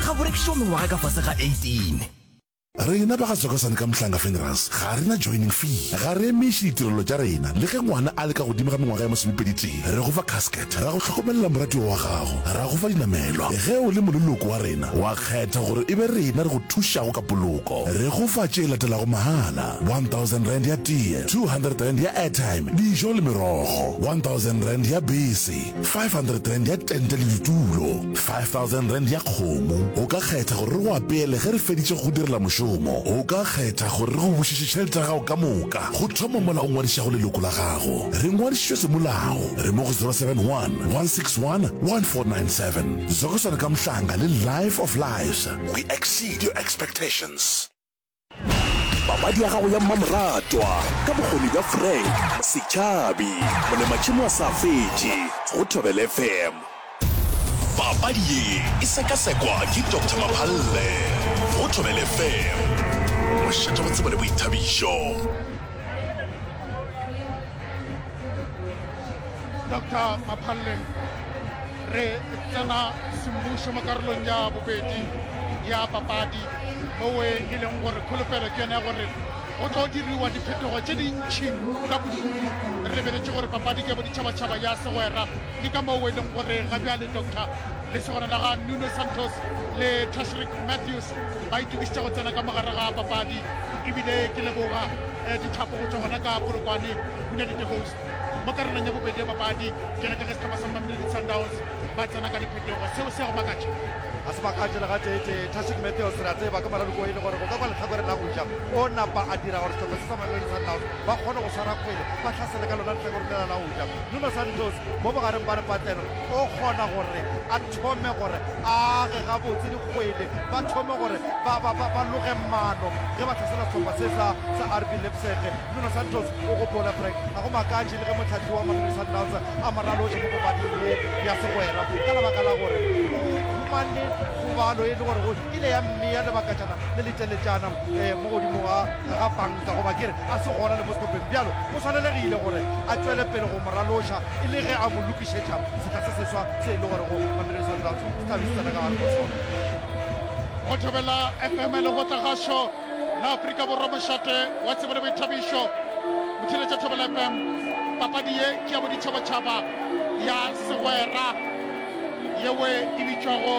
Ga bo rekišwa mengwaga ka fase ga 18. Rena ba ga Tsokosane ka Mhlanga Funerals ga re na joining fee. Ga re emiše ditirelo tša rena le ge ngwana a le ka godimo ga mengwaga ya masomepeditee. Re go fa casket, ra go hlokomelela moratiwa wa gago, ra go fa dinamelwa. Ge o le moleloko wa rena, wa kgetha gore e be rena re go thušago ka poloko. Re go fa tše latelago mahala, R1000 ya tee, R200 ya airtime, dijo le merogo, R1000 ya bese, R500 ya tente le ditulo, R5000 ya kgomo. O ka kgetha gore re go apeele ge re feditše go go direla mošomo. O ka kgetha gore re go bušetše tšhelete ya gago ka moka go thoma mola o ngwadišago leloko la gago. Re ngwadišitšwe semolao. Re mo go 071 161 1497. Zokosana ka Mhlanga le Life of Lives. We exceed your expectations. Papadi ya gago ya mmamoratwa ka bokgoni bja Frank Setšhabi, molematšhemo a sa fetše go Thobela FM. Papadi ye e sekasekwa ke Doctor Maphalle go Thobela FM, mošate wa tsebo le boithabišo. Doctor Maphalle, re tsena semmušo mo karolong ya bobedi ya papadi mowe e leng gore kholofelo ke yone ya gore go tlo diriwa diphetogo tše dintšhi ka bodutu re lebeletše gore papadi ke ya boditšhabatšhaba ya segwera ke ka moo e leng gore ga bjale doctor lesogana la ga Nuno Santos le Tashreeq Matthews ba itokišitše go tsena ka mogare ga papadi ebile ke leboga eh, dithapo go tšwa gona ka Polokwane United Host Mo karolong ya bobedi ya papadi, bjalo ka ge sehlopha sa Mamelodi Sundowns ba tsena ka diphetogo, seo se a go makatša? Ga se makatše le gateetee. Tashreeq Matthews re a tseba ke moraloko e le gore go ka kwa lehlakoreng la go ja o napa a dira gore sehlopha se sa Mamelodi Sundowns ba kgone go swara kgwele ba hlasele ka lona lehlakore lela la go ja. Nuno Santos mo bogareng ba lepatlelo o kgona gore a thome gore a age gabotse dikgwele, ba thome gore ba, ba, ba, ba loge maano ge ba hlasela sehlopha se sa, sa RB Leipzig. Nuno Santos o gopola Frank, ga go makatše le ge mohlahli wa Mamelodi Sundowns a mo ralotše mo papading ye ya segwera ka lebaka la gore o humane kgobalo e le gore go ile ya mmea lebakatšana le leteletšana um mo godimo ga ga panka goba ke re a se gona le mo sehlopheng. Bjalo o swanelegile gore a tšwele pele go mo raloša e le ge a mo lokišetša sehla se seswa se e le gore go Mamelodi Sundowns se tla be se tsena ka gare go sona. Go Thobela FM le go tla gašo. La Afrika Borwa mošate wa tsebo le boithabišo motheeletša Thobela FM. Papadi ye ke ya boditšhabatšhaba ya segwera yewe e bitšwago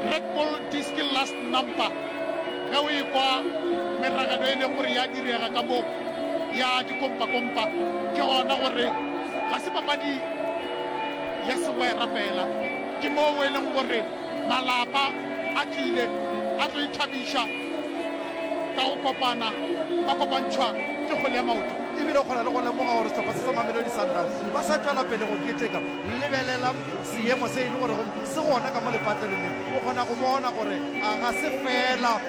Red Bull Diski Last Number. Ge o ekwa meragelo e leng gore ya direga ka mo ya dikompakompa ke gona gore ga se papadi ya segwera fela, ke moo e leng gore Malapa a tlile a tlo ithabiša ka go kopana, ba kopantšhwa ke kgwele ya maoto. E bile o kgona le go lemoga gore sehlopha se sa Mamelodi Sundowns ba sa tšwela pele go keteka. Lebelela seemo se e le gorego se gona ka mo lepatlelong le. O kgona go bona gore ga se feela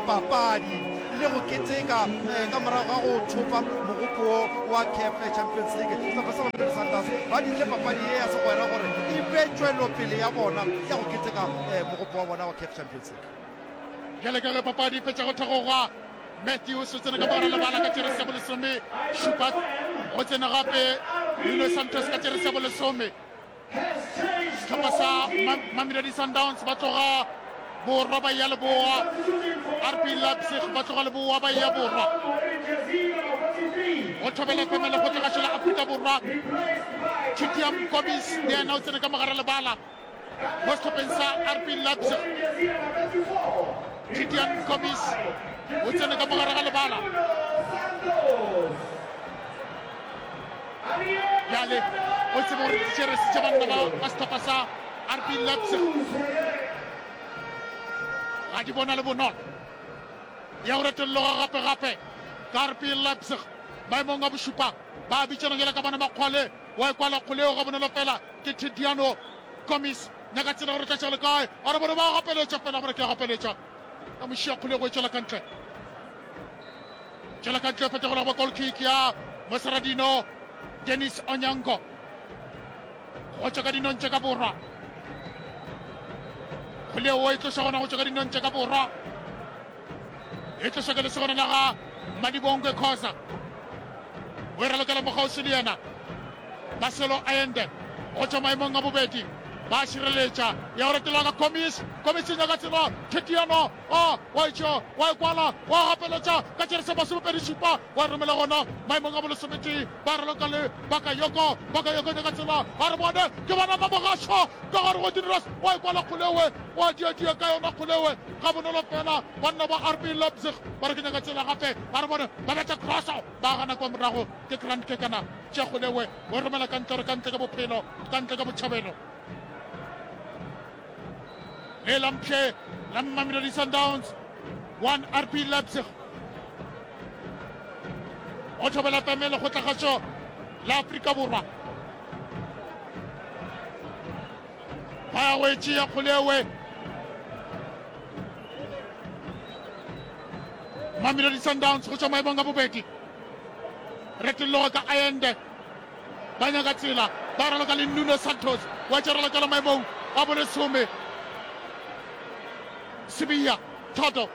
papadi le go keteka ka morago ga go thopa mogopo wo wa CAF Champions League. Sehlopha sa Mamelodi Sundowns ba dirile papadi ye ya segwera gore e be tšwelopele ya bona ya go keteka mogopo wa bona wa CAF Champions League. Bjale ka ge papadi e fetša go thekgogwa, Matthews o tsene ka mogare lebala ka jeresi ya bolesome šupa, go tsene gape Nuno Santos ka jeresi ya bolesome. Sehlopha sa Mamelodi Sundowns ba tloga borwa ba ya leboa, RB Leipzig ba tloga leboa ba ya borwa. Go thobela FM lekgotlagašo la Afrika Borwa, Chitiam Gobis le yena o tsene ka mogare lebala mo sehlopheng sa RB Leipzig. Chitiam Gobis o tsene ka mogare ga lebala. Bjale o tsebe gore dijeresi tša banna ba ba sehlopha sa RB Leipzig ga di bona le bonolo. Ya go retolloga gape-gape ka RB Leipzig maemong a bošupa ba bitšana bjale ka bona Makgwale wa e kwala kgole eo ga bonolo fela ke Tidiano Gomis nyaka tsela gore tla le kae a re bone ba gapeletša fela gore ke a gapeletša ka mošia kgole go e tšwela ka ntle. Tšwela ka ntle fetogola go goal kick ya Moseradino Dennis Onyango go tšwa ka dinong tša ka borwa. Kgwele eo e tloša gona go tšwa ka dinong tša ka borwa. E tloša ke lesogana la ga Madibongwe Khoza. O e ralokela mogausi le yena Marcelo Allende go tšwa maemong a bobedi. Ba šireletša ya go retelwa ka Gomis. Gomis e nyaka tsela. Thetiano a wa e tšea wa e kwala wa gapeletša ka tšerese masomepedi-šupa wa e romela gona maemong a bolesometee. Ba raloka le Bakayoko. Bakayoko nyaka tsela. A re bone ke bona Mamogašo ka gare go Dinros wa e kwala kgolewe wa diadia ka yona kgolewe ga bonolo fela. Banna ba RB Leipzig ba re ke nyaka tsela gape. A re bone ba betha crosso ba gana kwa morago ke Grant Kekana. Tšea kgolewe O romela ka ntle gore ka ntle ka bophelo, ka ntle ka botšhabelo. Le la mpšhe la Mamelodi Sundowns 1 RB Leipzig. Go thobela FM lekgotlakgašo la Afrika Borwa. Ba ya go e tšea kgolewe. Mamelodi Sundowns go tšwa maemong a bobedi. Retolloga ka Allende. Ba nyaka tsela, ba raloka le Nuno Santos wa tša ralokela maemong a bolesome. Sibiya, Thato,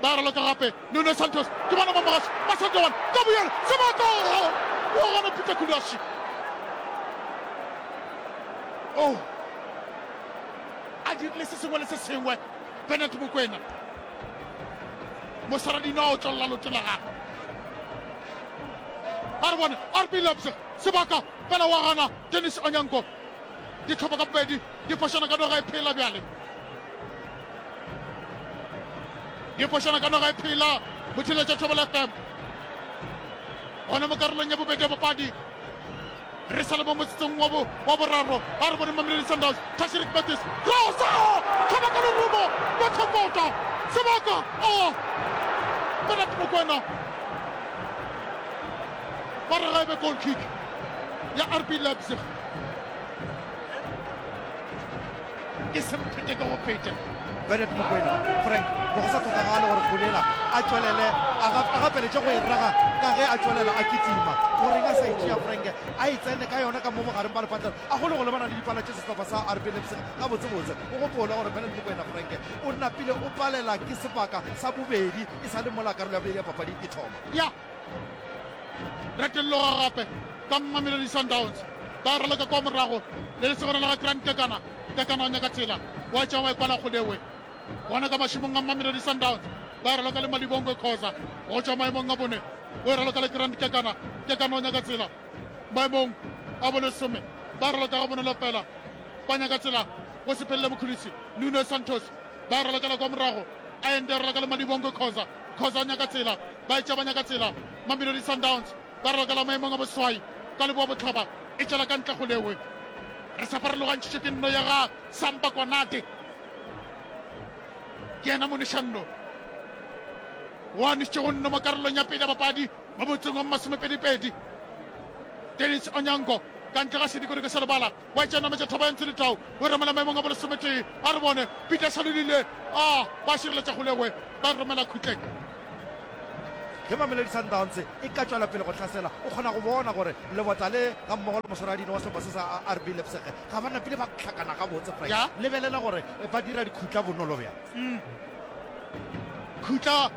ba raloka gape. Nuno Santos ke bona ba mogaši ba Santowana ka boyena sebaka wa gana Peter Kulashi. Oh, a dirile se sengwe le se sengwe Bernard Mokwena. Moswaradino a otlolla loto la gagwe. A re bone RB Leipzig sebaka fela wa gana Dennis Onyango. Dihlopha ka bobedi di fošana ka noga e phela bjale. Di fošana ka noga e phela Motheletša Thobela FM. Gona mo karolong ya bobedi ya papadi Re sa le mo motsotsong wa bo wa boraro, a re bone Mamelodi Sundowns, Tashreeq Matthews, Rosa! Tlhaba ka lerumo, betha kota, sebaka, oh! Bernard Mokwena, ba re ga e be goal kick ya RB Leipzig. Ke semphete ke go fete. Bernard Mokwena, Frank, be go sa hlokagale gore Kgolela a tšwelele a gapeletše go e raga ka ge a tšwelela a kitima. Goreng a sa e tšea Frank a e tsene ka yona ka mo bogareng ba lepatlelo a kgone go lebana le dipala tše sehlopha sa RB Leipzig gabotsebotse. O gopole gore Bernard Mokwena, Frank, o napile o palela ke sebaka sa bobedi e sa le mola karolo ya bobedi ya papadi e thoma. Ya retolloga gape ka Mamelodi Sundowns ba raloka kwa morago le lesogana la ga Grant Kekana. Kekana o nyaka tsela wa tšea wa e kwala kgolewe gona ka mašemong a Mamelodi Sundowns ba raloka le Malibongwe Khoza go tšwa maemong a bone o e raloka le Grant Kekana. Kekana o nyaka tsela maemong a bolesome ba raloka ga bonolo fela ba nyaka tsela go sepelele Mkhulisi Nuno Santos ba ralokela kwa morago a ende raloka le Malibongwe Khoza. Khoza o nyaka tsela, ba etša ba nyaka tsela. Mamelodi Sundowns ba ralokela maemong a boswai ka leboa bohlaba, e tšwela ka ntle go lewe. Re sa farologantšhitšwe ke nno ya ga Samba Konate. Ke yena monešanno wa nešitšego nno mo karolong ya pele ya papadi mo motseng wa masomepedipedi. Dennis Onyango ka ntle ga sedikodiko sa lebala Wa tša nametša thaba ya Ntshe-Letau, o romela maemong a bolesometee. A re bone, Peter Shalulile, a ba šireletša kgolegwe, ba romela khutleng. Ge Mamelodi Sundowns e ka tšwela pele go hlasela, o kgona go bona gore lebota le gammogo le moswaradino wa sehlopha se sa RB Leipzig ga ba napile ba hlakana gabotse. Frank, Ya. lebelela gore ba dira dikhutla bonolo bjang. Khutla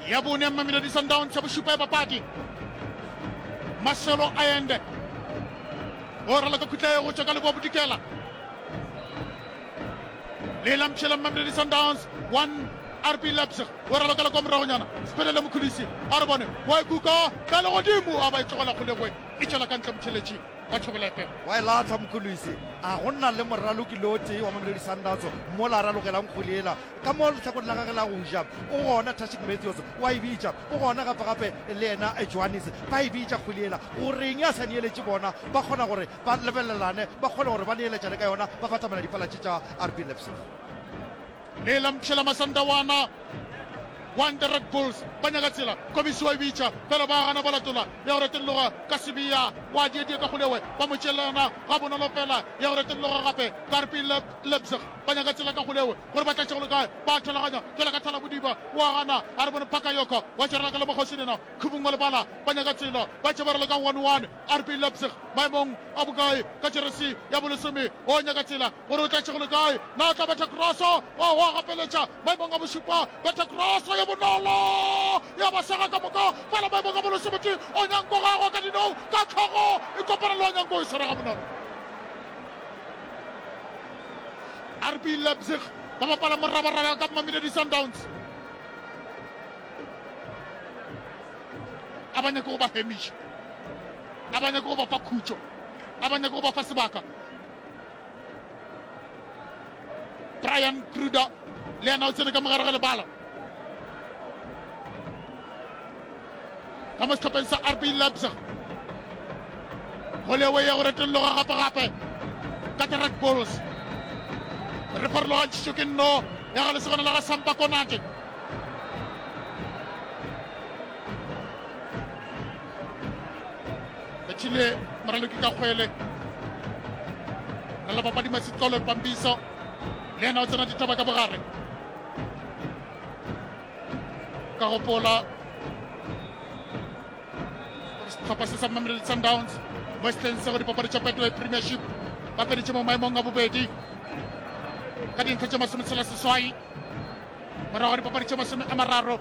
ya bone ya Mamelodi Sundowns ya bošupa ya papadi. Marcelo Allende O raloka khutla ye go tšwa ka leboa bodikela. Le la mpšhela Mamelodi Sundowns 1 RB Leipzig. O ralokela kwa moragonyana. Sepelele Mkhulisi a re bone wa e kuka ka legodimo a ba e tlogela kgolegwe e tšwela ka ntle motheletši wa Thobela FM. Wa e lahla Mkhulisi. A go na le moraloki le o tee wa Mamelodi Sundowns mola a ralokelang kgwele yela Ka mo lehlakoreng la gagwe la go ja o gona Tashik Matthews, wa e bitša. O gona gape-gape le yena Johannes. Ba e bitša kgwele yela. Go reng a sa neeletše bona? Ba kgona gore ba lebelelane, ba kgone gore ba neeletšane ka yona, ba batamela dipala tše tša RB Leipzig. Le la mpšhela Masandawana. One the Red Bulls ba nyaka tsela, Komisi wa e bitša, fela ba gana ba latola ya go retolloga ka Sibiya wa diedie ka kgolewe, ba mo tšeela yona ga bonolo fela ya go retolloga gape ka RB Leipzig ba nyaka tsela ka kgolewe gore ba tlatše go le kae, ba tholaganya jwale ka Thalabodiba wa gana a re bone Bakayoko wa tšerela ka le Mokgosi Nena Khubung wa lebala ba nyaka tsela ba tše ba raloka 1-1 RB Leipzig maemong a bokae ka jeresi ya bolesome o nyaka tsela gore o tlatše go le kae na o tla betha kroso o wa gapeletša maemong a bošupa betha kroso ye bonolo ya ba sega ka moka fela maemong a bolesometee o nyanko gagwe ka dinong ka tlhogo e kopana le wa nyanko e swara ga bonolo. RB Leipzig ba bapala morabaraba ka Mamelodi Sundowns. A ba nyake go ba hemiša, a ba nyake go ba fa khutšo, a ba nyake go ba fa sebaka. Brian Kruder le yena o tsene ka mogare ga lebala ka mo sehlopheng sa RB Leipzig. Golewe ya go retolloga gape-gape ka the Red Bulls. Re farologantšhitšwe ke nno ya ga lesogana la ga Sampa Konate. Bethile moraloki ka kgwele. Re la papadi Masitolo Pambiso le yena o tsena ditaba ka bogare. Ka gopola sehlopha se sa Mamelodi Sundowns mo sehleng se go dipapadi tša Betway Premiership ba feditše mo maemong a bobedi ka dintlha tše masometshela seswai morago ga dipapadi tše masome a mararo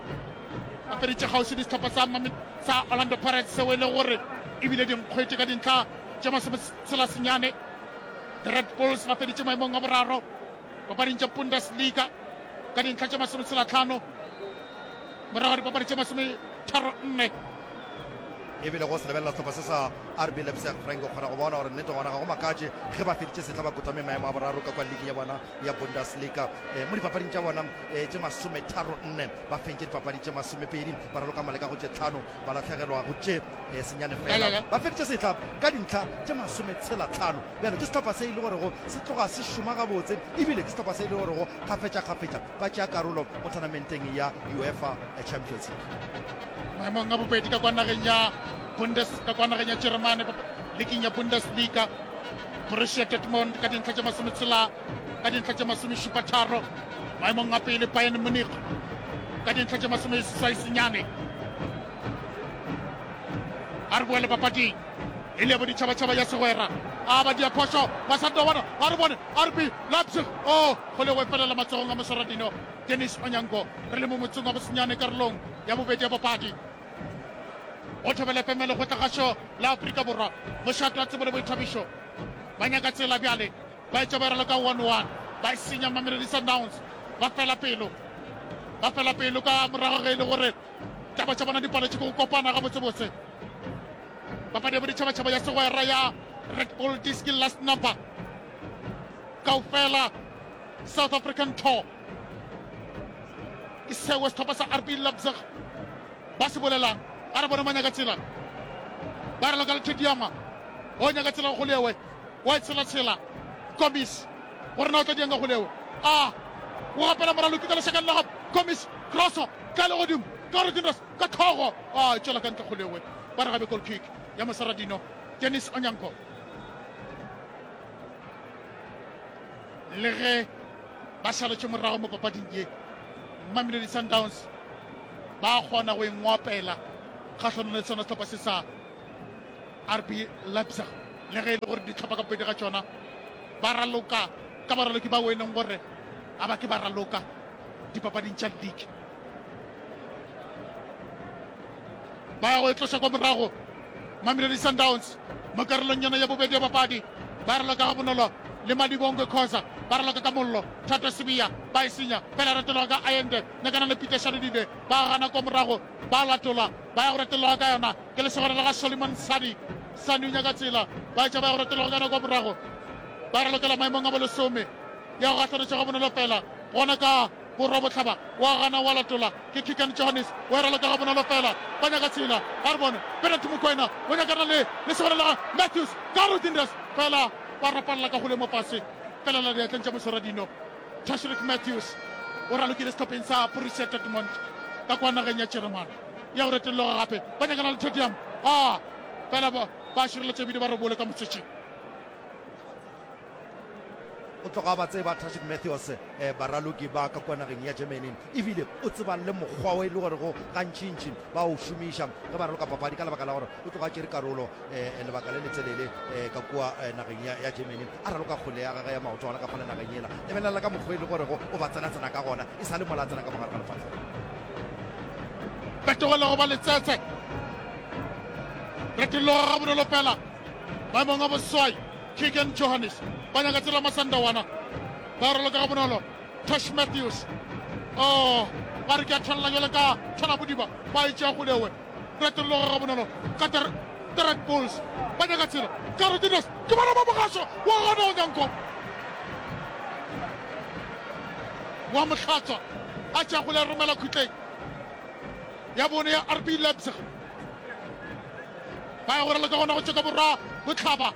ba feditše kgauswi le sehlopha sa sa Orlando Pirates seo e le gore ebile dinkgwete ka dintlha tše masometshela senyane. The Red Bulls ba feditše maemong a boraro papading tša Bundesliga ka dintlha tše masometshelatlhano morago ga dipapadi tše masometharonne. Ebile go se lebelela sehlopha se sa RB Leipzig, Frank o kgona go bona gore nnete gona ga go makatše ge ba feditše sehla ba kotame maemo a boraro ka kwa ligi ya bona ya Bundesliga. Eh, mo dipapading tša bona eh, tše masometharonne ba fentše dipapadi tše masomepedi, ba raloka maleka go tše tlhano, ba lahlegelwa go tše eh, senyane fela. Ba feditše sehla ka dintlha tše masometshela-tlhano. Bjale ke sehlopha se e le gorego se tloga se šoma gabotse, ebile ke sehlopha se e le gorego kgafetša-kgafetša ba tšea karolo mo tournamenteng ya UEFA Champions League. Maemong a bobedi ka kwa nageng ya Bundes ka kwa nageng ya Jeremane liking ya Bundesliga, Borussia Dortmund ka dintlha tše masometshela ka dintlha tše masomešupatharo. Maemong a pele Bayern Munich ka dintlha tše masomeseswai senyane. A re boele papading e le ya boditšhabatšhaba ya segwera. A ba dia phošo Masandawana, a re bone RB Leipzig o go le go felela matsogong a moswaradino Dennis Onyango. Re le mo motsong wa bosenyane karolong ya bobedi ya papadi. Go Thobela FM lekgotlagašo la Afrika Borwa, mošate wa tsebo le boithabišo. Ba nyaka tsela bjale, ba etša ba raloka ka 1-1, ba e senya Mamelodi Sundowns, ba fela pelo, ba fela pelo ka morago ge e le gore taba tša bona di paletše ke go kopana gabotsebotse. Papadi ya boditšhabatšhaba ya segwera ya Red Bull Diski Last Number kaofela South African Tour ke seo sehlopha sa RB Leipzig ba se bolelang. A re bone manyaka tsela ba raloka le Thediama o nyaka tsela go lewe wa e tshela-tshela Gomis gore na o tla diang ka go lewe a o gapela moraloki ka lešakeng la gago Gomis crosso ka le godimo ka Rodindos ka tlhogo a e tšwela ka ntle go lewe ba re gabe goal kick ya Mosaradino Dennis Onyango le ge ba šaletše morago mo papading ye Mamelodi Sundowns ba kgona go ingwapela kgahlanong le sona sehlopha se sa RB Leipzig le ge e le gore dihlopha ka bobedi ga tšona ba raloka ka baraloki bao e leng gore a ba ke ba raloka dipapading tša league. Ba ya go e tloša kwa morago Mamelodi Sundowns mo karolong yona ya bobedi ya papadi. Ba raloka ga bonolo le Malibongwe Khoza, ba raloka ka mollo. Thato Sibiya ba e senya fela, retologa ka Ayende nyakana le Peter Shalulile, ba gana kwa morago, ba latola, ba ya go retologa ka yona ke lesogana la ga Solomon Sani. Sani o nyaka tsela, ba etša ba ya go retologa ka yona kwa morago, ba ralokela maemong a bolesome ya go gahlanetša ga bonolo fela gona ka Borwa-bohlaba wa gana wa latola ke Keegan Johannes wa e raloka gabonolo fela ba nyaka tsela. A re bone Bernard Mokoena o nyakana le lesogana la ga Matthews ka Rodindas fela ba rapalela ka gole mo fase felela diatleng tša moswaradino. Tashreeq Matthews o ralokile sehlopheng sa Borussia Dortmund ka kwa nageng ya Jeremane ya go retologa gape ba nyakana le Tottenham a fela ba šireletša ebile ba robole ka motsetšeng. O tloga a ba tseba Tashreeq Matthews, baraloki ba ka kua nageng ya Germany, ebile o tseba le mokgwa o e le gorego gantšintši ba o šomiša ge ba raloka papadi ka lebaka la gore o tloga a tšere karolo lebaka le letelele ka kua nageng ya Germany a raloka kgwele ya gagwe ya maoto gona ka fale nageng yela. Lebelela ka mokgwa e le gorego o ba tsena-tsena ka gona e sa le mola a tsena ka mogare ga lefahlego. Fetogela go ba letsetse. Retologa gabonolo fela maemong a boswai. Keegan Johannes ba nyaka tsela Masandawana. Ba raloka gabonolo. Tosh Matthews. Oh, ba re ke a tshwanela jale ka tshwana bodiba. Ba e tšea golewe. Retolloga gabonolo ka the the Red Bulls. Ba nyaka tsela. Carolines ke bona ba mogašo wa gana Onyango. Wa mohlatswa a tšea gole a romela khutleng ya bone ya RB Leipzig. Ba ya go raloka gona go tšwa ka borwa bohlaba.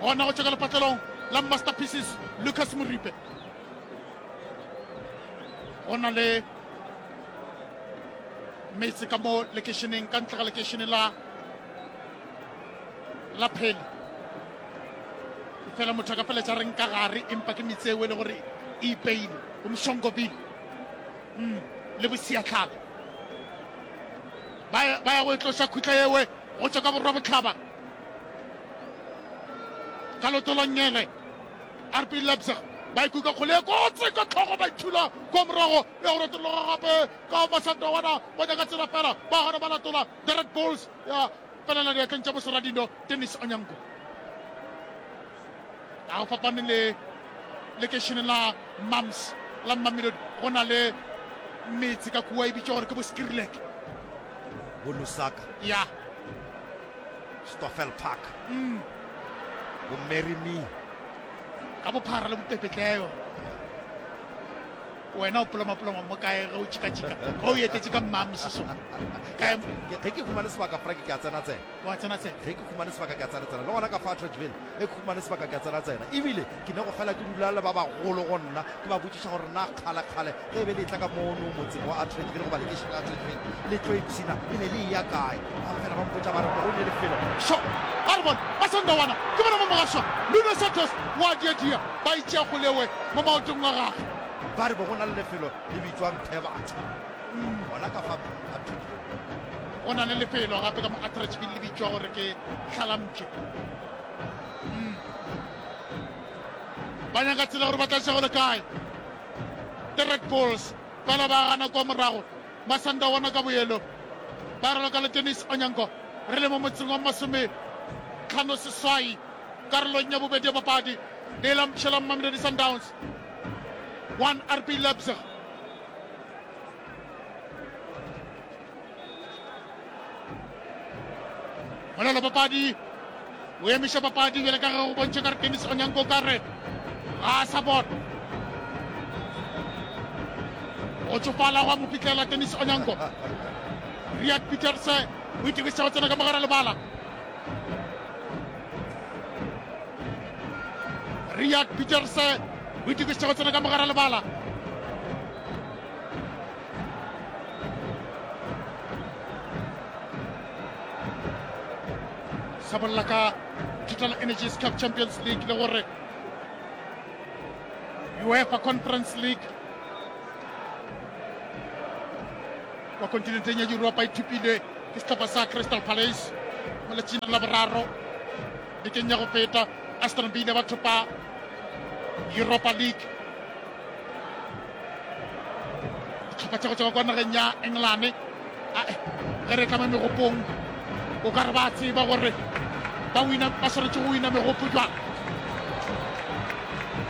Gona go tšwa ka lepatlelong la Masterpieces Lucas Moripe. Go na le metse ka mo lekeišeneng ka ntle ga lekeišene la la Pheli. Fela motho a ka feletša reng ka gare empa ke metse eo e le gore e ipeile bo Mshongoville mm, le bosiatlhaba ba ba ya go e tloša khutla ewe go tšwa ka borwa bohlaba ka lotolongele RB Leipzig ba ikuka kgole e kotsi ka tlhogo ba ithula kwa morago ya go retologa gape ka masandawana ba nyaka tsela fela ba gana ba latola the Red Bulls ya felela diatleng tša boseradino Dennis Onyango ga go fapane le lekeišene la Mams la Mamelodi go na le metse ka kua e bitšwa gore ke bo Skirlek bo Lusaka ya Stoffel Park mm. bo Marry Me ka bophara le bopepetleo wena o polomapoloma mo kae ge o tšhikatšhika ge o etetše ka mmamsiso kae ge ke humane sebaka frank ke a tsena tsena wa tsena tsena ge ke humane sebaka ke a tsena tsena le gona ka fa Atteridgeville ge ke humane sebaka ke a tsena tsena ebile ke ne go fela ke dula le ba bagolo go nna ke ba botšiša gore na kgale kgale ge e be le etla ka mono motseng wa Atteridgeville goba lekeišene la Atteridgeville le tlo ipshina le ne le eya kae ba fela ba mpotša ba re go ne lefelo Sho, a re bone ba Sandawana ke bona mo mogašwa Nuno Santos wa diadia ba itšea golewe mo maotong a gagwe. Ba re bo go na le lefelo le bitšwang Phebatho gona ka fa Atteridgeville. Go na le lefelo gape ka mo Atteridgeville le bitšwa gore ke Hlalampše. Mm. Ba nyaka tsela gore ba tla tša go le kae. The Red Bulls bala ba gana kwa morago. Masandawana ka boyelo ba raloka le Dennis Onyango. Re le mo motseng wa 58 karolong ya bobedi ya papadi. Le la mpšhe la Mamelodi Sundowns 1 RB Leipzig. Molelo papadi o emiša papadi bjale ka ge go bontšha ka re Dennis Onyango ka re ga a sa bona go tšofala gwa mo fihlela Dennis Onyango. Riyad Pieterse o itokišitše go tsena ka mogare lebala. Riyad Pieterse o itokišitše go tsena ka mogare lebala. Sa bolela ka Total Energies Cup Champions League le gore UEFA Conference League kwa kontinenteng ya Yuropa e thupilwe ke sehlopha sa Crystal Palace mo letšatšing la boraro bekeng ya go feta. Aston Villa ba thopa Europa League. Dihlopha tša go tšwa kwa nageng ya Engelane ge re tla mo megopong o ka re ba tseba gore ba wina ba swanetše go wina megopo jwang.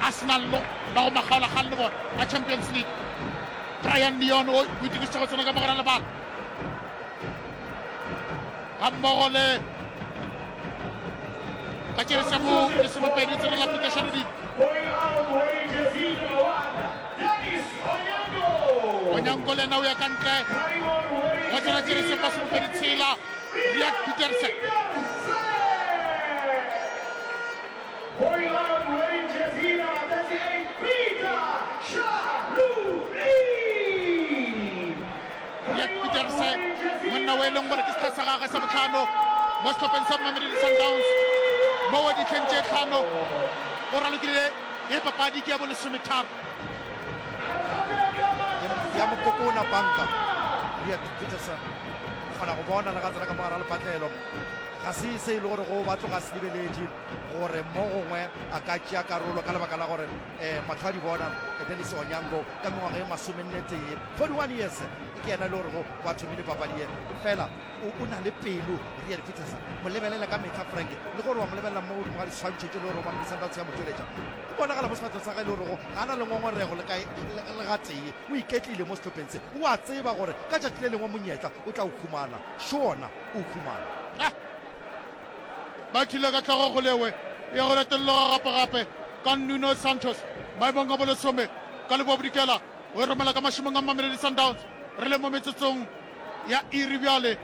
Arsenal lo ba go makgaolakgang le bona a Champions League. Brian Leon o itokišitše go tsena ka mogare lebala gammogo le ka tšerese mo lesomepedi tsena la Peter Shanudi. Onyango le yena o ya ka ntle go tsena tšerese masomepedi tshela Riyad Peterson. Riyad Pieterse, monna o e leng gore ke setlha sa gagwe sa botlhano mo sehlopheng sa Mamelodi Sundowns mo ditlheng tše tlhano o ralokile ye papadi ke ya bolesometharo. Ya mokokona banka Riyad Peterson o kgona go bona le ga tsena ka mogara lepatlelo. Ga se se e le gore go ba tloga se lebeletše gore mo gongwe a ka tšea karolo ka lebaka la gore um mahlo a di bona Dennis Onyango ka mengwaga e masomennetee, 41 years, ke yena e le gorego wa thomile papadi ye. Fela o, o na le pelo Rian Peterson. Mo lebelela ka mehla Frank, le gore wa mo lebelela mo godimo ga diswantšho tše le gore Mamelodi Sundowns ya mo tšweletša. O bonagala mo sefahlego sa gagwe e le gorego ga a na le ngongorego le ka le gatee. O iketlile mo sehlopheng se. O a tseba gore ka tšatši le lengwe monyetla o tla o humana. Šo ona o o humana. Ah! Ba thile ka hlogo go lewe ya go retolloga gape-gape ka Nuno Santos maemong a bolesome ka leboa-bodikela o e romela ka mašemong a Mamelodi Sundowns. Re le mo metsotsong ya iri bjale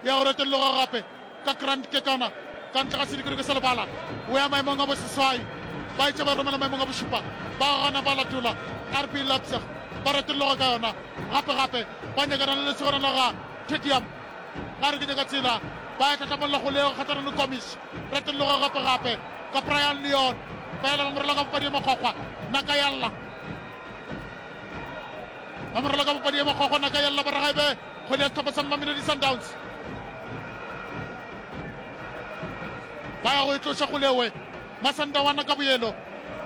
ya go retolloga gape ka Grant Kekana ka ntle ga sedikadiko sa lebala o ya maemong a boseswai ba etša ba romela maemong a bošupa ba gana ba latola RB Leipzig ba retolloga ka yona gape-gape ba nyakana le lesogana la ga Tedium Ba re ke nyaka tsela, ba ya tlhatlamolla kgolego kgahlanong le Komis. Retolloga gape-gape ka Brian Leon, fela ba mo rola ka papadi ya makgwakgwa, naka ya lla. Ba mo rola ka papadi ya makgwakgwa, naka ya lla, ba re ga e be kgwele ya sehlopha sa Mamelodi Sundowns. Ba ya go e tloša kgolewe, Masandawana ka boyelo,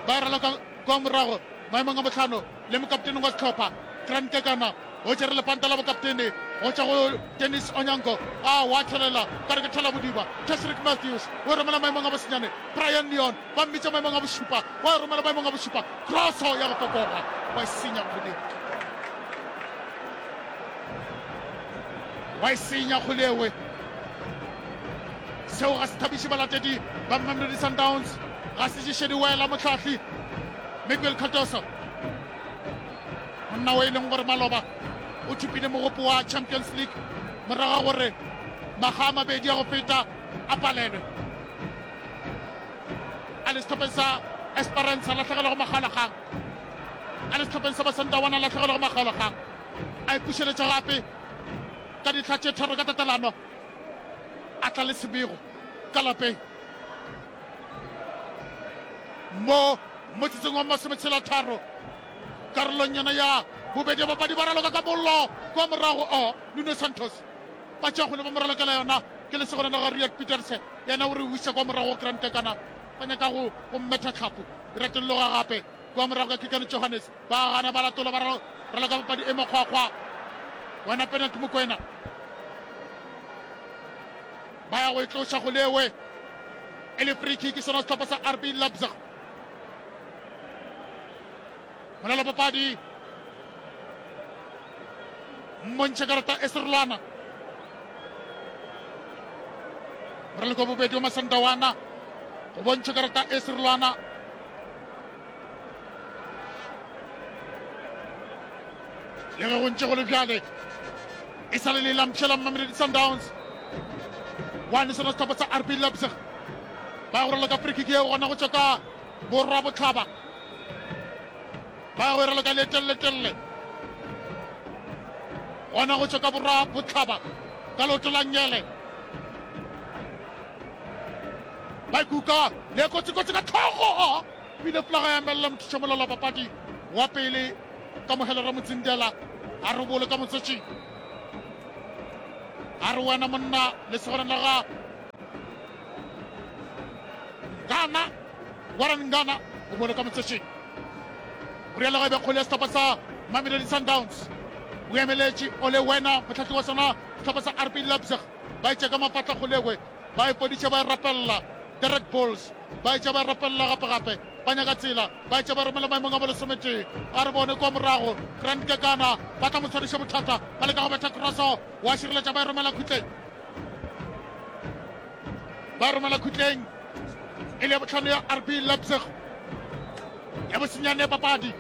ba e raloka kwa morago maemong a bohlano. Le mokaptene wa sehlopha, Grant Kekana, o tšere lepanta la bokaptene go tšwa go Dennis Onyango. A wa thelela ka re ke thola bodiba. Tashreeq Matthews o e romela maemong a bosenyane. Brian Leon ba mmitša maemong a bošupa, wa e romela maemong a bošupa. Kroso ya go popoga, wa e senya kgole. Wa e senya kgolewe. Seo ga se thabiše balatedi ba Mamelodi Sundowns. Ga se ješe diwela mohlahli Miguel Cardoso, monna o e leng gore maloba o thopile mogopo wa Champions League morago ga gore makga a mabedi a go feta a palelwe a le sehlopheng sa Esperance a lahlegelwa go makgaolakgang, a le sehlopheng sa Masandawana a lahlegelwa go makgaolakgang, a ipušeletša gape ka dihla tše tharo ka tatelano, a tla le sebego ka lapeng. Mo motsotsong wa masometshelatharo karolong yona ya bobedi ya papadi ba raloka ka mollo kwa morago o Nuno Santos ba tšea kgole ba mo ralokela yona ke lesogana la ga Riyad Peterse yena o re wiša kwa morago Grant Kekana ba nyaka go go mmetha tlhapo retolloga gape kwa morago ka Kikane Johannes ba gana ba latola ba raloka papadi e makgwakgwa wena penalty Mokwena Ba ya go e tloša go lewe e le free kick sona sehlopha sa RB Leipzig. Molala papadi mmontšhe karata e serolwana. Moraloko bobedi wa Masandawana go bontšha karata e serolwana. Le ge go ntše go le bjale, e sa le le lampšhe la Mamelodi Sundowns. Wane sona sehlopha sa RB Leipzig ba ya go raloka free kick yeo gona go tšwa ka borwa bohlaba. Ba ya go e raloka le telele-telele gona go tšwa ka borwa bohlaba ka leoto la ngele. Ba ikuka le kotsi-kotsi ka tlhogo. Bile folaga ya emelela mothušamolelo wa papadi wa pele Kamohelo Ramotsindela a re bolo ka motsotšing. A re wena monna lesogana la ga Ngana, Warren Ngana o bolo ka motsotšing. O rialo ga e be kgole ya sehlopha sa Mamelodi Sundowns. O emeletše ole wena mohlahli wa sona sehlopha sa RB Leipzig ba etša ka mafatla kgolegwe ba ipodiša ba e rapelela The Red Bulls. Ba etša ba rapelela gape-gape, ba nyaka tsela, ba etša ba romela maemong a bolesometee. A re bone kua morago, Grant Kekana, ba tla mo tshwariša bothata, ba leka go betha kroso, wa šireletša, ba e romela khutleng. Ba e romela khutleng, e le ya bohlano ya RB Leipzig, ya bosenyane ya papadi.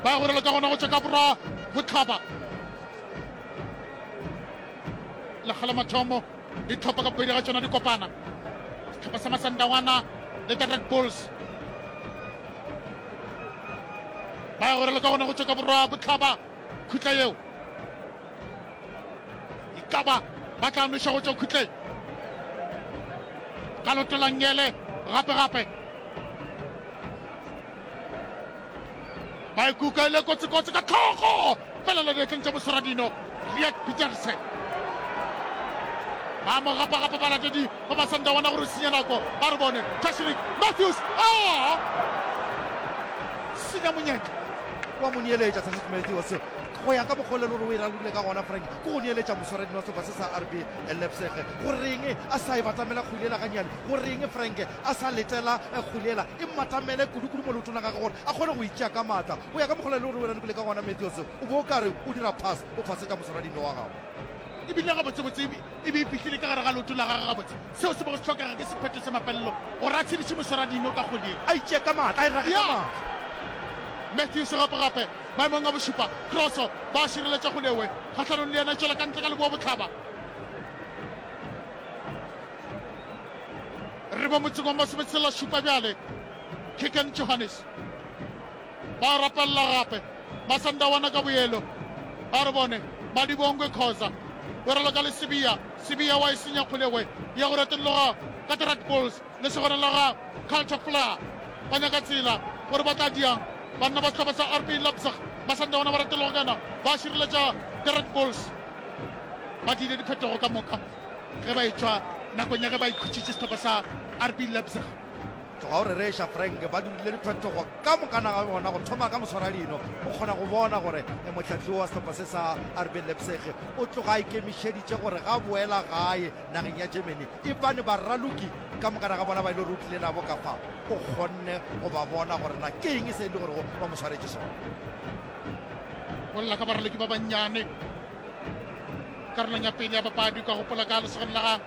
Ba ya go raloka gona go tšwa ka borwa bohlaba. Lekga la mathomo. Dihlopha ka bobedi ga tšona di kopana, sehlopha sa Masandawana le the Red Bulls. Ba ya go raloka gona go tšwa ka borwa bohlaba khutla yeo. E ka ba ba tla nweša go tšwa khutleng ka loto la ngele gape gape. Ba ikuka e le kotsikotsi ka tlhogo felela diatleng tša moswaradino Riek Pieterse. Ba mo gapa-gapa balatedi ba Masandawana gore o senya nako. Ba re bone Tashreeq Matthews a senya monyetla. Wa mo neeletša Tashreeq Matthews go ya ka mokgwa o le gore o e ralokile ka gona Frank ke go neeletša moswaradino wa sehlopha se sa RB Leipzig. Go reng a sa e batamela kgwele yela gannyane? Go reng Frank a sa letela kgwele yela e mmatamele kudu-kudu mo leotong la gagwe gore a kgone go e tšea ka maatla? Go ya ka mokgwa o le gore o e ralokile ka gona Matthews o be o ka re o dira pass o phasetša moswaradino wa gago. E bile gabotsebotse e be e fihlile ka gare ga leoto la gagwe gabotse. Seo se bego se hlokega ke sephetho sa mafelelo gore a tshediše moswaradino ka kgwele ye. A itšee ka maatla, a e rage ka maatla. Matthews gape-gape maemong a bošupa. Kroso, ba šireletša kgwele kgahlanong le yena, e tšwela ka ntle ka leboa bohlaba. Re mo motseng wa masometshela šupa bjale. Keegan Johannes. Ba rapelela gape Masandawana ka boyelo. A re bone Madibongwe Khoza o raloka le Sibiya. Sibiya wa e senya kgolegwe ya go retologa ka The Red Bulls lesogana la ga Culture Flair. Ba nyaka tsela gore ba tla diang banna ba sehlopha sa RB Leipzig. Masandawana ba retologa ka yona ba šireletša The Red Bulls. Ba diile diphetogo ka moka ge ba etšwa nakong ya ge ba ikhutšitše sehlopha sa RB Leipzig. Tloga o rereša, Frank. Ba dirile diphetogo ka mokana ga bona, go thoma ka moswaradino. O kgona go bona gore mohlahli wa sehlopha se sa RB Leipzig o tloga a ikemišeditše gore ga boela gae nageng ya Germany. Ebane baraloki ka mokana ga bona ba e le gore o tlile nabo ka fa, o kgonne go ba bona gore na ke eng se e le gorego ba mo swaretše sona. Bolela ka baraloki ba bannyane karolong ya pele ya papadi, o ka gopola ka lesogana la ga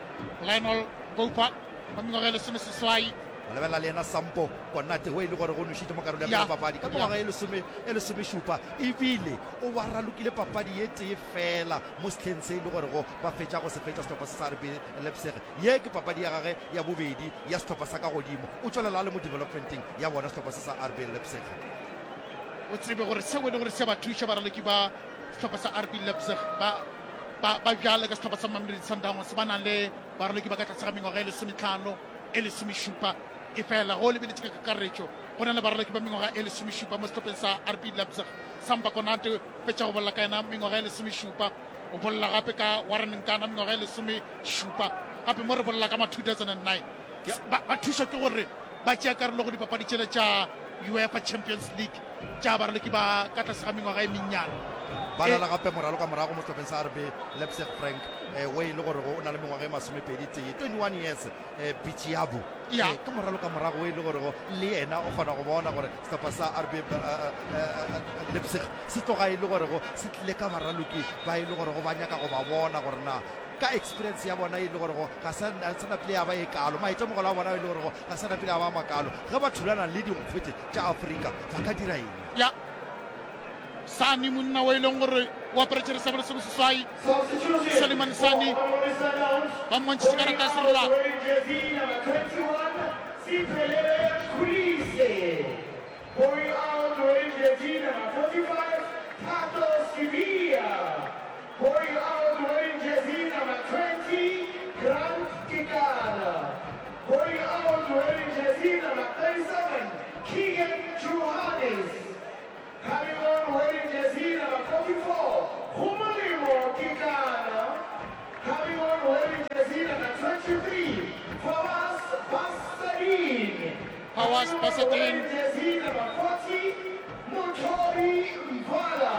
Lionel Goupa wa mengwaga e lesomeseswai. Go lebelela le yena Sampo Konate wo e le gore go nwešitše mo karolo ya pele ya papadi ka mengwaga e lesome e lesomešupa ebile o ba ralokile papadi ye tee fela mo sehleng se e le gorego ba fetša go se fetša sehlopha se sa RB Leipzig. Ye ke papadi ya gage ya bobedi ya sehlopha sa ka godimo. O tšwelela a le mo developmenteng ya bona sehlopha se sa RB Leipzig. O tsebe gore seo e le gore se ba thuša baraloki ba sehlopha sa RB Leipzig ba ba ba bjale ka sehlopha sa Mamelodi Sundowns ba nang le Baraloki ba ka tlase ga mengwaga e lesometlhano e lesomešupa. Efela ge o lebeletše ka kakaretšo, go na le baraloki ba mengwaga e lesomešupa mo sehlopheng sa RB Leipzig. Samba Konate o fetša go bolela ka yena mengwaga e lesomešupa. O bolela gape ka Warren Nkana mengwaga e lesomešupa. Gape mo re bolela ka ma 2009. Ba, ba thušwa ke gore ba tšea karolo go dipapadi tšela tša UEFA Champions League tša baraloki ba ka tlase ga mengwaga e mennyane. Ba na le gape moraloka morago mo sehlopheng sa RB Leipzig Frank eh, o e le gore o na le mengwaga e masomepedi tee, 21 years, eh, Bitshiabu Ya. eh, ke moraloka morago o e le gore le yena o kgona go bona gore sehlopha sa RB eh, eh, Leipzig se tloga e le gore se tlile ka baraloki ba e le gore ba nyaka go ba bona gore na ka experience ya bona e le gore ga sa sa napile ya ba e kalo, maitemogelo a bona e le gore ga sa napile ya ba makalo, ge ba thulana le dinkgwete tša Afrika ba ka dira eng? Ya Sani, monna o e leng gore o aparetše resabelo se boseswai, Suleiman Sani, ba mmontšhitše karata ya serolwa. Coming on wearing jersey number 44, Gomolemo Kekana. Coming on wearing jersey number 23, Fawaz Basadien. Fawaz Coming on Basadien. wearing jersey number 40, Mothobi Mvala.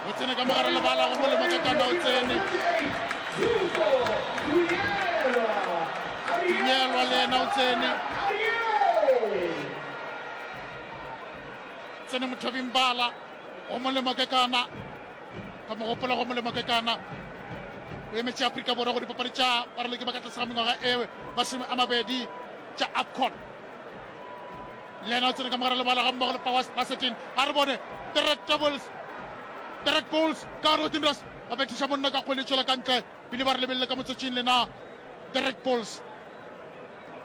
O tsene ka mogare lebala go molemo Kekana o tsene. 58, Zuko Dunyelwa. Dunyelwa le yena o tsene. Ariel. Tsene Mothobi Mbala, go molemo Kekana. Ka mo gopola go molemo Kekana. O emetše Afrika Borwa go dipapadi tša baraloki ba ka tlase ga mengwaga e 20 tša AFCON. Le yena o tsene ka mogare lebala ga mmogo le Fawaz Basadien. A re bone the Red Devils, the Red Bulls ka gare go Tindras ba bethiša monna ka kgwele e tšwela ka ntle. Pele ba re lebelele ka motsotsing lena the Red Bulls.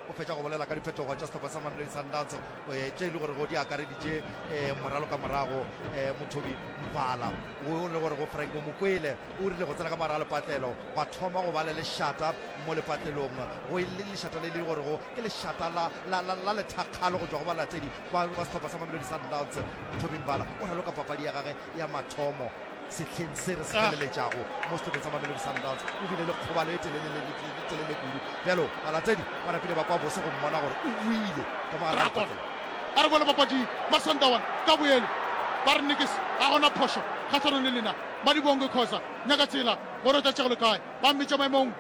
O fetša go bolela ka diphetogo tša sehlopha sa Mamelodi Sundowns eh, tše e le gorego di akareditše eh, moralo ka morago eh, Mothobi Mvala o le gore go Frank Mokwele o rile go tsena ka mogare ga lepatlelo gwa thoma go ba le lešata mo lepatlelong go e le lešata le le gorego ke lešata la, la, la, la lethakgalo go tšwa go balatedi ba, ba sehlopha sa Mamelodi Sundowns. Mothobi Mvala o raloka papadi ya gage ya mathomo. sehleng se re se feleletšago mo sehlopheng sa Mamelodi Sundowns. O bile le kgobalo e telele kudu. Bjalo balatedi ba napile ba kwa bose go mmona gore o boile ka mo gare ga Rakon lepatlelo. a re boele papading Masandawana ka boele ba re nikis ga gona phošo kgahlanong le lena. Madibonge Khoza nyaka tsela gore o tla tšegelo kae. Ba mmitša maemong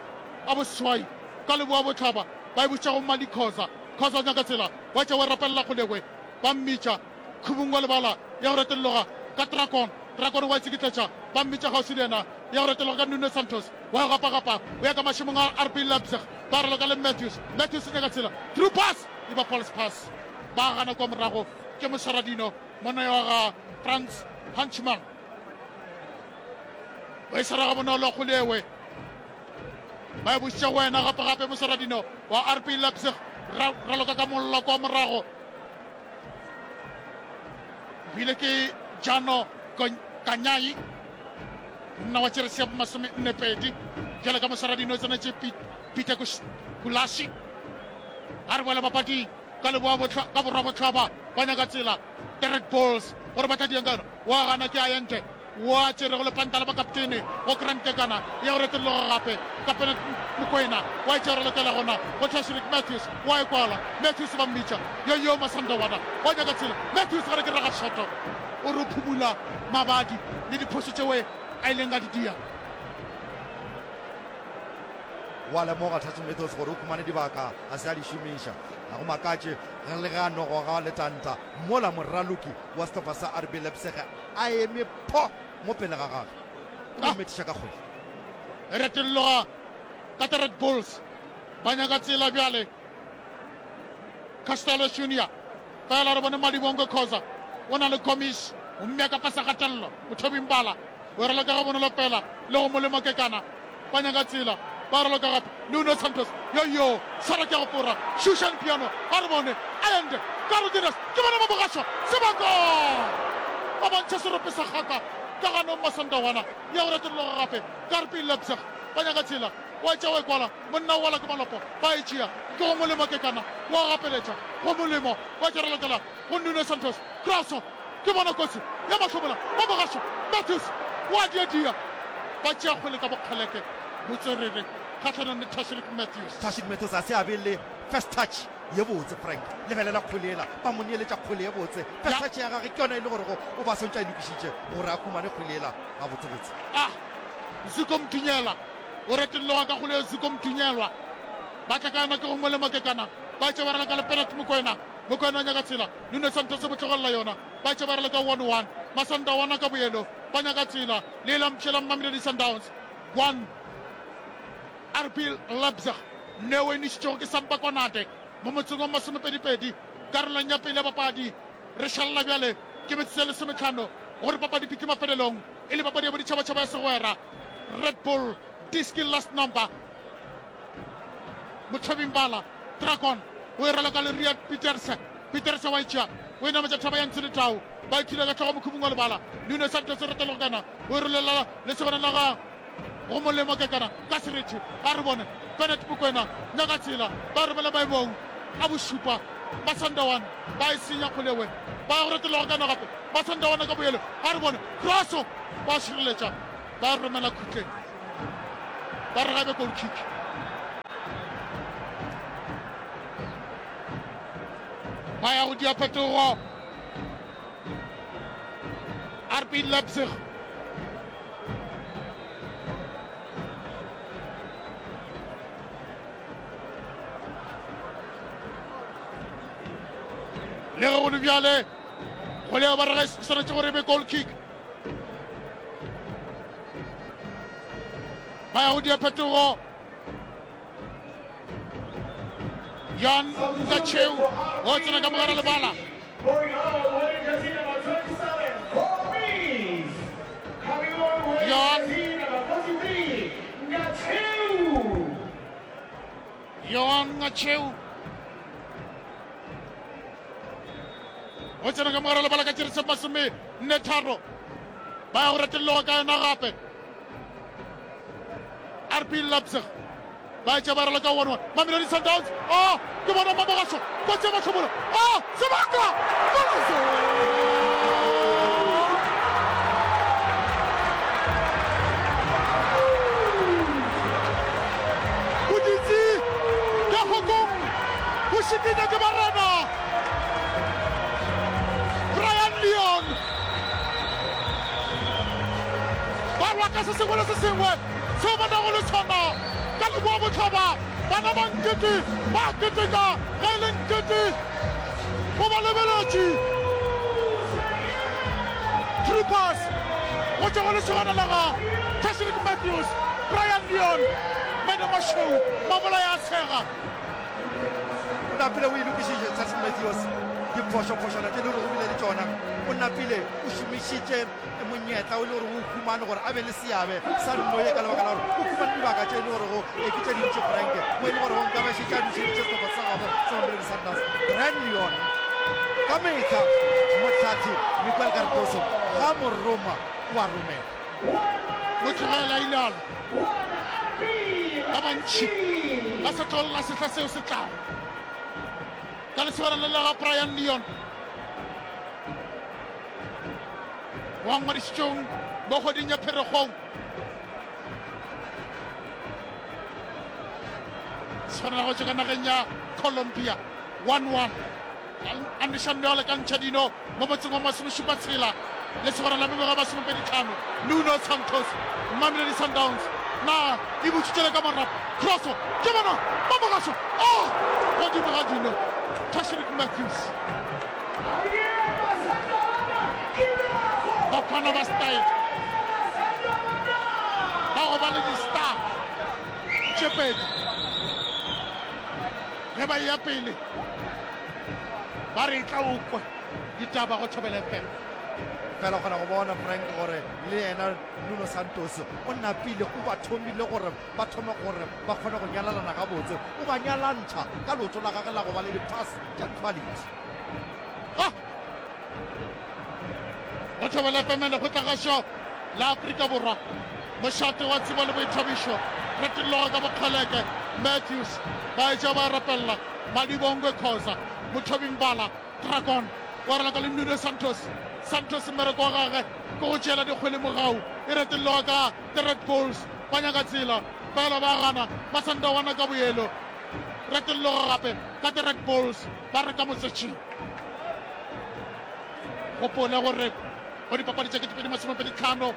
a boseswai ka leboa bohlaba ba e bušetša go Mali Khoza. Khoza o nyaka tsela wa tšea wa rapelela kgolekwe ba mmitša Khubung wa lebala ya go retolloga ka Drakon. Drakon wa itsikitletša ba mmitša kgauswi le yena ya go retolloga ka Nuno Santos wa go gapagapa o ya ka mašemong a RB Leipzig ba raloka le Matthews. Matthews o nyaka tsela through pass e ba false pass ba gana kwa morago ke moswaradino monna wa ga Franz Hanchmann o e swara gabonolo kgolewe ba e bušitše go wena gape gape moswaradino wa RB Leipzig raloka ka mollo kwa morago bile ke Jano Kanyai monna wa tšeresi ya 42 bjale ka moswaradino o tsenetše Peter Kulashi a re boela papading ka leboa ka borwa bohlaba ba nyaka tsela the Red Bulls gore ba tla diang ka yona wa gana ke Ayente wa tšerego lepanta la bakaptene go Grant Kekana ya go retologa gape kapene Mokwena wa e tšea lokela gona go Tashreeq Matthews wa e kwala Matthews ba mmitša yo yo Masandawana wa nyaka tsela Matthews gare ke raga shoto o re phumula mabadi le diphošo tšewe a ileng a di dia. Wa lemoga Touching Methods gore o khumane dibaka a se a di šomiša. Ga go makatše ge le ge a no goga letanta mola moraloki wa sehlopha sa RB Leipzig a eme pho mo pele ga gagwe. O mo methiša ka kgwele. Retolloga ka the Red Bulls ba nyaka tsela bjale. Castello Junior fela re bone Malibongwe Khoza o na le Gomis o mmea ka fase kgatelelo. Mothobi Mbala o raloka gabonolo fela le go Molemo Kekana. Ba nyaka tsela, ba raloka gape. Nuno Santos, yo yo, swara ke ya go fora. Shushan Piano, a re bone. Allende, Cardenas, ke bona ba bogašwa. Sebaka! Ba bontšha serope sa kgaka ka ganong Masandawana. Ya go retolloga gape. Karpi Leipzig, ba nyaka tsela. Wa tšea wa e kwala. Monna o wala ke malopo. Ba e tšea. Ke go Molemo Kekana. Wa gapeletša. Go Molemo. Wa tša ralokela go Nuno Santos. Kraso. Ke bona kotsi ya mahlomola ba mogašo. Matthews o a diadia. Ba tšea kgwele ka bokgeleke botswerere kgahlanong le Tashreeq Matthews. Tashreeq Matthews a se a be le first touch ye botse. Frank, lebelela kgwele yela. Ba mo neeletša kgwele ye botse. First touch ya gagwe ke yona e le gorego o ba swantše a e lokišitše gore a humane kgwele yela gabotsebotse. Ah! Zuko Mdunyelwa o retolloga ka kgwele ye. Zuko Mdunyelwa ba tla ka yona ke go molemo kekana. Ba tšea ba raloka le Penat Mokoena. Mokoena o nyaka tsela. Nuno Santos o mo tlogelela yona. Ba tše ba raloka 1-1. Masandawana ka boyelo ba nyaka tsela. Le la mpšhe la Mamelodi Sundowns 1, RB Leipzig neo e nešitšwego ke Samba Konate mo motseng wa masomepedipedi karolong ya pele ya papadi. Re šalela bjale ke metsotso ya lesometlhano gore papadi fihle mafelelong e le papadi ya boditšhabatšhaba ya segwera. Red Bull Diski Last Number. Mothobi Mbala, Dragon, o e raloka le Riyad Pieterse. Pieterse wa e tšea, o e nametša thaba ya ntshe le tau. Ba e thula ka hlogo mokhubung wa lebala. Nuno Santos o retologana, o e rolela lesogana la ga go molemo kekana ka serethe. A re bone Bennett Mokwena, nyaka tsela, ba romela maemong a bošupa. Masandawana ba e senya kgolewe, ba ya go retologa kana gape. Masandawana ka boyelo, a re bone Crosso, ba šireletša, ba romela khutleng. Ba re gabe goal kick. Ba ya go dia phetogo. RB Leipzig. Le ge go le bjale, go leo ba re ga e swanetše gore e be goal kick. Ba ya go dia phetogo. Jan Kacheu o tsena ka mogare lebala. Jan Johan Ngacheu o tsena ka mogare lebala ka tšere masome nne tharo ba ya go retelloga ka yona gape RB Leipzig ba etša ba raloka 1-1 Mamelodi Sundowns oh ke bona Mamogašo kotsi ya mahlobolo oh sebaka golazo! raka se sengwe le se sengwe seo ba nago le sona ka Leboa Bohlaba. Bana ba Nkete ba a keteka ge e le Nkete o ba lebeletše. Troopers go tšwa go lesogana la ga Tashreeq Matthews, Brian Leon, Meno Mašweu, Mabolaya a tshega. O napile o e lokišitše Tashreeq Matthews diphošophošwana tše le gore o bile le tšona. O napile o šomišitše monyetla o le gore o humane gore a be le seabe sa nno ye ka lebaka la gore o humane dibaka tše e le gorego e ke tše dintši Frank mo e le gorego nka ba šetše a dušeditše sehlopha sa gabo sa Mamelodi Sundowns. Brian Leon ka mehla mohlathi Miguel Cardoso ga mo roma o a romela. Mo tlogela ilalo ba bantši ba sa tlo lla sehla seo se tlago ka lesogana le la ga Brian Leon. Wa ngwadišitšweng mo kgweding ya Pherekgong. Tshwanela go tšwa ka nageng ya Colombia 1-1. A nweša nno le ka ntšha dino mo motseng wa masomešupa tshela le segwera la mengwaga masomepedi tlhano. Nuno Santos, Mamelodi Sundowns na e butšitše le ka marapo. Crosso ke bona ba mogašo oh godimo ga dino. Tashreeq Matthews. Bafana ba style ba go ba le di-star tše pedi ge ba eya pele ba re e tla o kwe ditaba go Thobela FM. Fela o kgona go bona Frank gore le yena Nuno Santos o napile o ba thomile gore ba thome gore ba kgone go nyalalana gabotse. O ba nyalantšha ka leoto la gagwe la go ba le di-pass tša quality. Ah! Go Thobela FM Lekgotlagašo la Afrika Borwa, mošate wa tsebo le boithabišo, retolloga ka bokgeleke, Matthews, ba eja ba rapella, Madibongwe Khoza, Mothobi Mbala, Dragon, wa raloka le Nuno Santos, Santos mmereko wa gagwe ke go tšeela dikgwele mogau, e retolloga ka The Red Bulls, ba nyaka tsela, fela ba gana, Masandawana ka boelo, retolloga gape ka The Red Bulls, ba re ka motsetšing. Gopola gore go dipapadi tša 2025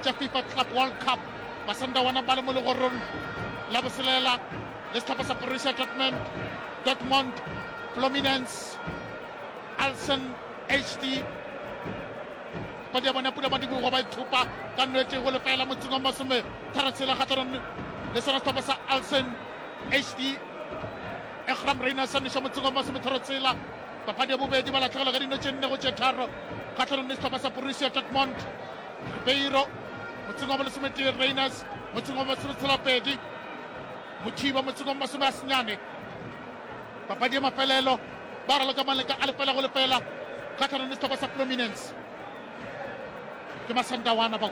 tša FIFA Club World Cup, Masandawana ba le mo legorong la boselela le sehlopha sa Borussia Dortmund, Dortmund, Fluminense, Alsen HD. Papadi ya bona pula madibogo ba ithupa ka nwetše go lefela motseng wa masome tharatshela kgahlanong le sona sehlopha sa Alsen HD. Egram Rayners a neša motseng wa masometharotshela. Papadi ya bobedi ba lahlegelwa ka dino tše nne go tše tharo kgahlanong le sehlopha sa Borussia Dortmund. Ribeiro motseng wa bolesometee, Rayners motseng wa masometshela-pedi, Mothiba motseng wa masome a senyane. Papadi ya mafelelo ba raloka maleka a lefela go lefela kgahlanong le sehlopha sa Fluminense. Ke Masandawana ba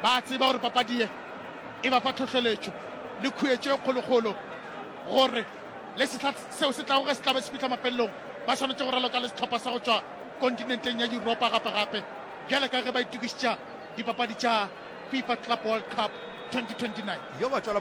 ba tseba gore papadi ye e ba fa tlhohleletšo le khuetšo e kgolokgolo gore le sehla seo se tlago ge se tla be se fihla mafelelong ba swanetše go raloka le sehlopha sa go tšwa kontinenteng ya Yuropa gape-gape bjale ka ge ba itokišetša dipapadi tša FIFA Club World Cup 2029. Yo ba tšwela.